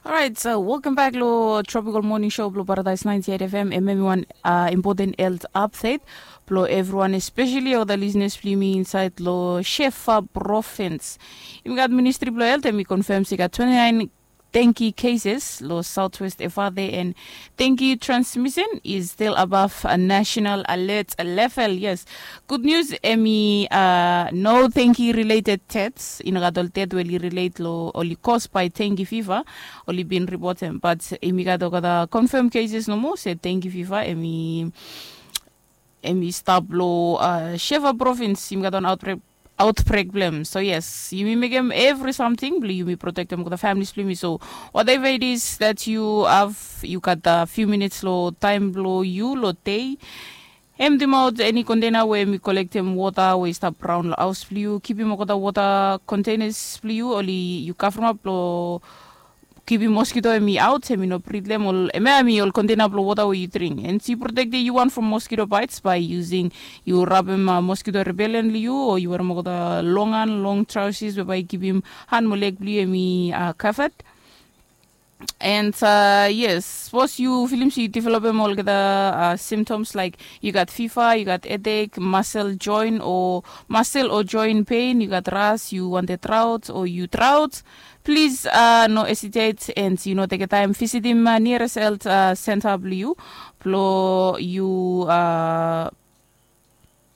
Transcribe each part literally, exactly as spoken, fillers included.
Alright, so welcome back lo Tropical Morning Show blo Paradise ninety-eight F M. Em em wan uh, important health update blo everyone, especially all the listeners blo yumi inside lo Shefa province. Yumi gat Ministry blo Health em i confirm se i gat twenty-nine dengue cases lo Southwest F R there, and dengue transmission is still above a national alert level. Yes, good news, em i uh, no dengue related deaths. I no gat ol death we oli relate lo oli cause by dengue fever. Oli bin report em, but yumi gat olgeta confirm cases nomo se dengue fever em i em i stap lo uh, Shefa province. Yumi gat wan outbreak outbreak blem. So yes, yumi mekem every something blo yumi protectem olgeta families blo yumi. So whatever it is that you have, you got a few minutes lo time blo you lo day. Emptim out any container we mi collectem water we i stap raun lo house blo you. Kipim olgeta water containers blo you oli you cover up lo kipim mosquito em i out, em i no brit lo em ol em ya em i ol container blo water we you drink, and you protect you one from mosquito bites by using you rabem uh, mosquito repellent lo you, o you wear olgeta long han, long trousers we by kipim han mo leg blo you em i uh, covered. And uh, yes, suppose you filim se you developem olgeta uh, symptoms like you got fever, you got headache, muscle joint or muscle or joint pain, you got ras, you wanted drought or you drought, please uh, no hesitate and you no take time visitim uh, nearest health uh, center blo you blo you uh,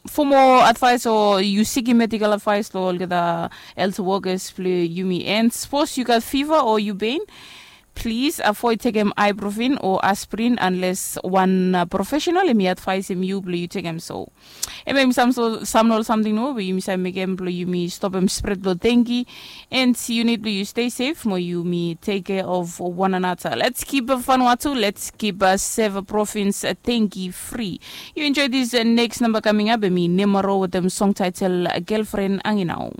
for more advice or you seeking medical advice lo olgeta health workers blo yumi. And suppose you got fever or you pain, please avoid taking ibuprofen or aspirin unless one uh, professional em i advise em you blo you take em. So em em sam so sam ol something no we yumi sa mekem blo yumi stop em spread lo dengue. And you need blo you stay safe mo yumi take care of one another. Let's keep Vanuatu, let's keep uh, save province uh, dengue free. You enjoy this uh, next number coming up, em i Nemaro with them song title uh, Girlfriend Anginau.